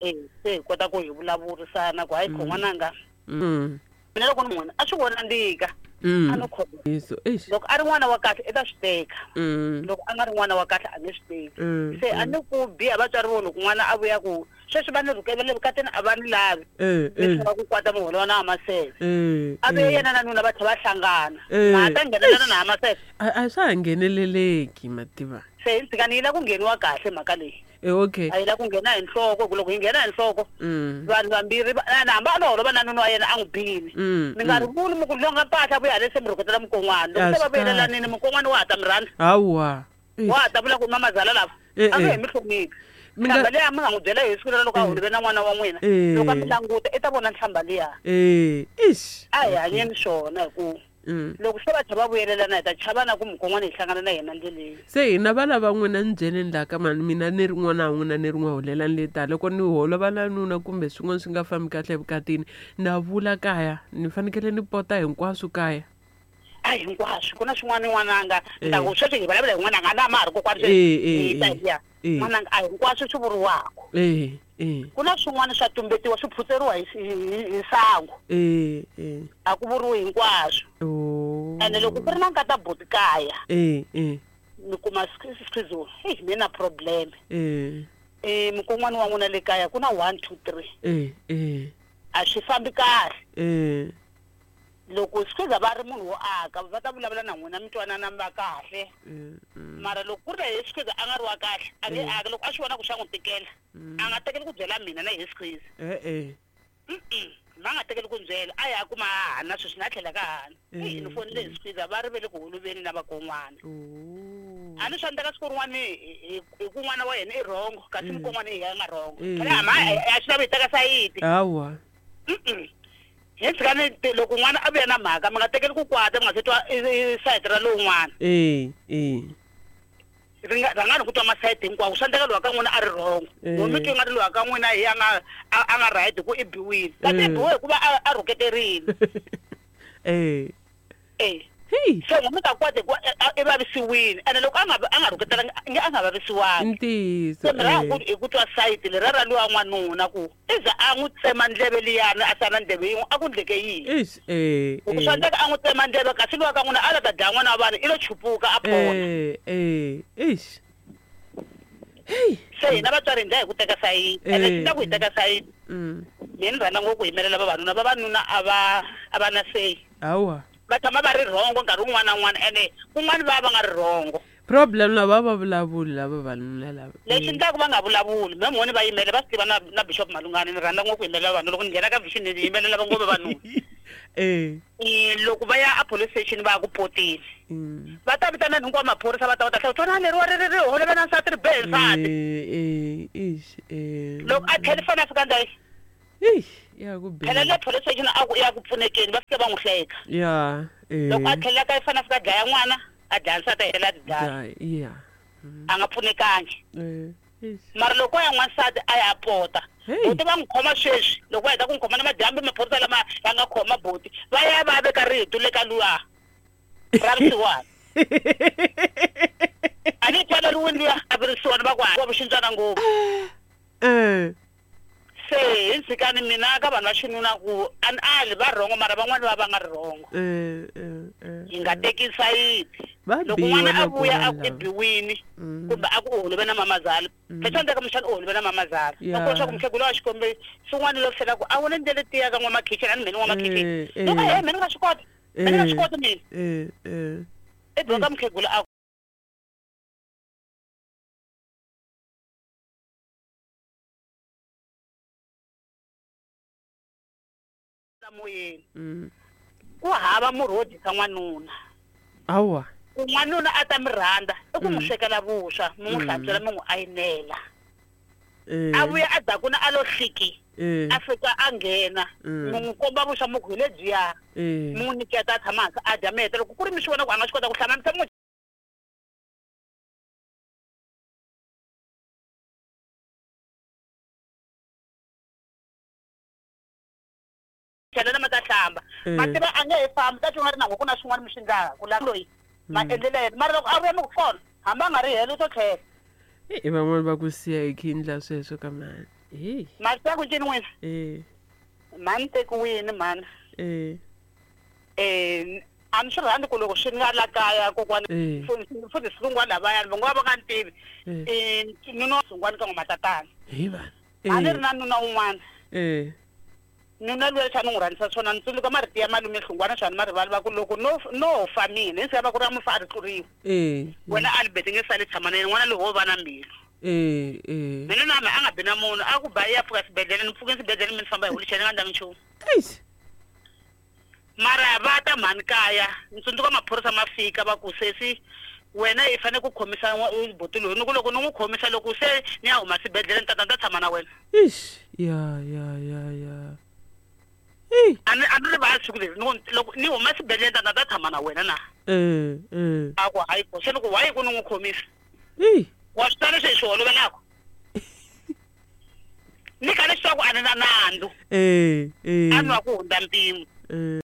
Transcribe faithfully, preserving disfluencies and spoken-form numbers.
Eh, se hi kota ku hi vulavurisana ku hayi kho n'wananga Mm. mina loko ni n'wina a swi vona ndika Mm. a no khoma Yesu, eish. loko a ri n'wana wa kahle i ta swi teka Mm. loko a nga ri n'wana wa kahle a nge swi teki Mm. se a ni ku biha vatswari vo loko n'wana a vuya ku sweswi va ni rhukevele vukatini a va ni lavi Eh, ni eh. tlhela ku kwata muholo wa na hamasele Eh. a vuye eh. yena na nuna va tlhela va hlangana Eh. na ha ta nghenelana na hamasele A a swa ha ngheneleleki mativa. se hi tshika ni yi la ku ngheniwa kahle mhaka leyi Eh, okay. a yi la ku nghena hi nhloko hi ku loko yi nghena hi nhloko Mm. vanhu vambirhi va- na hambi a lo holova na nuna wa yena a n'wi bini Mm. mi nga ri vuli mi ku longa mpahla vuya hale se mi rhuketela mukon'wana A loko se swi va vuyelelanini mukon'wana wa ha ta mi rhandza Hawa. Eish. wa ha ta vula ku mamazala lava Eh, a nge eh. he mi hloniphi Mi nga- nhlamba liya mi nga n'wi byela hi siku lero loko a holive na n'wana wa n'wina Eh. loko a mi languta i ta vona nhlamba liya Eh, eish. a hi hanyeni swona hi ku Mm. loko se va tlhe va vuyelelana hi ta chava na ku mukon'wana hi hlangana na yena ndleleni Se hina vana va n'wina ni byeleni laha ka mani mina ni ri n'wana wa n'wina ni ri n'wi holelani le tala loko ni holova na nuna kumbe swin'wana swi nga fambi kahle evukatini na vula kaya ni fanekele ni pota hinkwaswo kaya a hinkwaswo ku na swin'wana n'wananga Eh. ni ta ku sweswi hi vulavula hi n'wananga a na ma ha ri kokwani Eh, eh, hi ta eh. hiya Eh. n'wananga a hinkwaswo swi vuriwaka eh eh ku na swin'wana swa tumbetiwa swi phutseriwa hi hi- hi sangu eh eh a ku vuriwi hinkwaswo oh ene loko ku ri na nkata buti kaya eh eh mi kuma schizo heyi mi na problem eh um mukon'wana wa n'wina le kaya ku na one two three eh eh a swi fambi kahle eh loko schiza va ri munhu wo aka va ta vulavula na n'wina mi twanana mi va kahle eh, mm, mara loko ku ri na hi schiza a nga ri wa kahle a nge aki loko a swi vona ku swa n'wi tikela a nga tekeli ku byela mina na hi schiza eh eh Mm-mm, va nga tekeli ku ni byela a ya kuma hana sweswi na tlhela ka hana eyi ni fonile hi schiza va ri ve le ku holoveni na vakon'wana oh a ni swi endleka siku rin'wana hi hi- hi ku n'wana wa yena i rhongo kasi mukon'wana hi ya nga rhongo Mm. phela hama a swi lavi hi teka sayiti hawa Mm-mm. hi tshika ni ti- loko n'wana a vuya na mhaka mi nga tekeli ku kwata mi nga se twa i- i sayiti ra lowun'wana eh eh ri nga rhangani ku twa masayiti hinkwawo swi endleka lowa ka n'wina a ri rhongo Eh. ngo mi twi nga ri lowa ka n'wina hi a nga a a nga right hi ku i biwile kasi i Eh. biwe hikuva a a rhuketerile eh e hey se ngo mi ta kwata hikuva i- a- i vavisiwile ene loko a nga a nga rhuketelangi nge a nga vavisiwangi ntiyiso se mi rhanga eh. hi ku twa sayiti leriya ra luwa n'wanuna ku i za a n'wi tsema ndleve liyani a sala ndleve yin'we a ku ndleke yini Eish, eh Loko eh. swi endleka a n'wi tsema ndleve kasi luwa ka n'wina a la ta dlaya n'wana wa vanhu i lo chupuka a pona eh eh eish hey se hina vatswari hi ndla hi ku teka sayiti ene Eh, swi ndla ku hi teka sayiti mm mina ni rhandza ngopfu ku yimelela vavanuna vavanuna a va a va na seyi hawa va tshama va ri rhongo nkarhi wun'wana na wun'wana ene kun'wana va va nga ri rhongo problem lava va vulavuli lava vanuna lava lexi ndlaku va nga vulavuli me mhoni va yimele va swi tiva na na bishop malungani ni rhandza ngopfu ku yimelela vanhu loko ni nghena ka vision ni yimelela va ngopfu vavanuna eh Eh, loko va ya a police station va ya ku poteni mm. va ta vitana hinkwavo maphorisa va ta va ta hlaya twana leriwa ri ri ri holova na nsati ri be hi nsati eh eh eish eh loko a tlhela fana a fika ndhayi eish ya ku phela biha le police station a ku ya ku pfunekeni va fike va n'wi hleka ya eh loko a tlhelela ka fana a fika a dlaya n'wana a dlaya nsati a helela a ti dlaya ya ya a nga pfunekangi eh eish mara loko ya n'wansati a ya pota Hey. boti va n'wi khoma sweswi loko va heta ku n'wi khoma na madyambu maphorisa lama ya nga khoma boti va ya va veka rito le ka luya ra risiwana a ni twana riwini luya a vi risiwana va ku wa vuxintswana ngopfu eh se hi ntshikani mina ka vanhu va xinuna ku a ni ali va rhongo mara van'wani va va nga ri rhongo eh eh eh hi nga teki sayiti Va loko biwa n'wana a nakona vuya a ku i lava. biwini Mm. kumbe a ku u holove na mamazala phela endleka muxana u holove na mamazala Ya. loko leswaku mukhegula wa xikombe swin'wana lo tlhela ku a wona ndlela tiya ka n'wamakhixini a ni mheni n'wamakhixini Eh, eh. loko he mheni nga swi kota mheni nga swi Eh. koti mina eh eh i biwa ka mukhegula a ku moyeni mm ku hava murhi wo dyisa n'wanuna awa ku n'wanuna a ta mi rhandza i ku n'wi swekela vuswa mi n'wi hlantswela mi n'wi ayinela eh a vuya a dzakuna a lo hliki eh a fika a nghena Mm. mi n'wi komba vuswa mi ku hi lebyiya eh mi n'wi nyiketa a tshama hansi a dya mi heta loko ku ri mi swi vona ku a nga swi kota ku hlamba mi tshama mi n'wi chelela ma ta hlamba Eh. mativa a nge he fambi ta twa nga ri na ku na swin'wana mi swi ndlaka la loyi maendlelo ya yena mara loko a vuya mi ku kona hambi a nga ri helo u to tlhela i van'wani va ku siya hi khindla sweswo ka mani Hey. Masi ku ncini n'wina Eh. mhani tekiwini mhani Eh. um a ni swi rhandzi ku loko swi nga la kaya kokwani Eh. futhi silungwana lavayani va ngo va va nga ni tivi Eh. um nuna wa sungwani ka n'wa matatana Hi vanhu. a ni ri na nuna un'wana Eh. nuna luya xa ni n'wi rhandzisa swona ni tsundzuka marito ya malume hlungwana xana ma rivali va ku loko no no fa mina hi va ku ri ya mufa a ri tluriwa Eh. wena Albert nge sali tshama na yena n'wana loyi wo va na mbilu Eh. Eh. mina na mina a nga bi na munhu a ku ba ya pfuka xibedhlele ni pfuke xibedhlele mi ni famba hi wheelchair ni nga ndlangi nchumu Eish. mara va ta mhani kaya ni tsundzuka maphorisa ma fika va ku sesi wena i fanele ku khomisa buti loyi ni ku loko ni n'wi khomisa loko se ni ya huma xibedhlele ni tata ni ta tshama na wena Eish. Ya ya ya ya. Hey. a ni a ni rivali siku leri ni ku loko ni huma xibedhlele ni tata ni ta tshama na wena na Eh. Eh. a ku hayi ko se ni ku wayi ku ni n'wi khomisa Hey. wa swi twa leswi hi swi holovelaka ni kha ni swi tiva ku a ni na nandzu Eh. Eh. a nwa ku hundza mpimo Eh.